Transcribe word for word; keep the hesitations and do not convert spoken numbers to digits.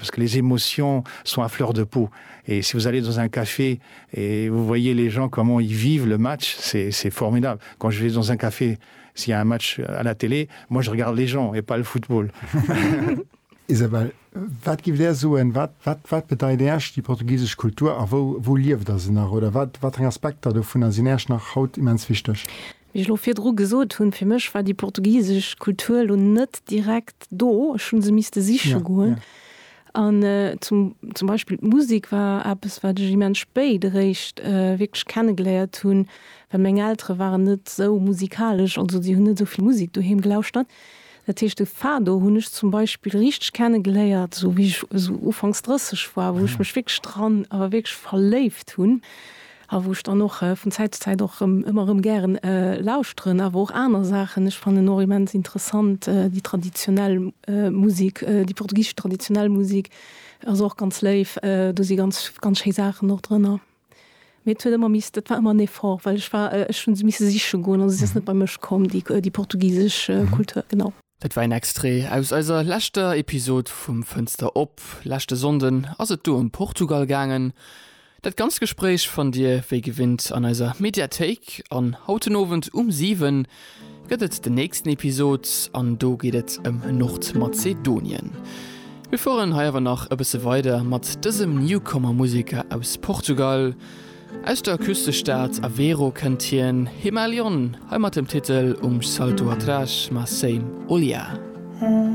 parce que les émotions sont à fleur de peau. Et si vous allez dans un café et vous voyez les gens comment ils vivent le match, c'est formidable. Quand je vais dans un café, s'il y a un match à la télé, moi je regarde les gens et pas le football. Isabel, wat gift Där soen, wat, wat, wat bedeit Iech déi portugisesch Kultur a wou, wou lieft Der se nach oder wat, wat eng Aspekter dovunner sinn Iech nach haut immens wichteg? Wéi ech lo virdru gesot hunn, fir mech war déi portugisesch Kultur lo net direkt do, ech hunn se misste siche ja, goen. Ja. An äh, zum, zum Beispill d'Musek war eppes, wat ech immens spéit eréischt äh, wierklech kennegeléiert hunn, well meng Eltere waren net sou musikalesch, also si hunn net sou vill Musek doheem gelauschtert. Dat heescht de Fado hunn ech zum Beispill richteg kennegeléiert, sou wéi ech sou ufanks drësseg war, wou ech mech wierklech dran awer wierklech verléift hunn a wou ech dann och vun Zäit zu Zäit och rëm ëmmer rëm gären lauschteren, awer och aner Saachen. Ech fannen och immens interessant déi traditionell Musek, déi portugisesch traditionell Musek ass och ganz léif, do si ganz ganz schéi Saachen och drënner. Mee et huet ëmmer misst, dat war ëmmer en Effort, well ech war, ech hunn se misse siche goen, also si ass net bei mech komm, déi déi portugisesch Kultur, genau. Dat war en Extrait aus eiser leschter Episod vum Fënster op. Leschte Sonnden ass et do ëm Portugal gaangen. Dat ganzt Gespréich fannt Dir wéi gewinnt an eiser Mediathéik an haut den Owend um siwen gëtt et den nächsten Episod an do geet et ëm Nordmazedonien. Mir fueren hei awer nach e bësse weider mat dësem Newcomer-Museker aus Portugal. Aus der Küstestad Aveiro kënnt hien, Himalion, hei mat dem Titel Um Salto Atrás, Mas Sem Olhar.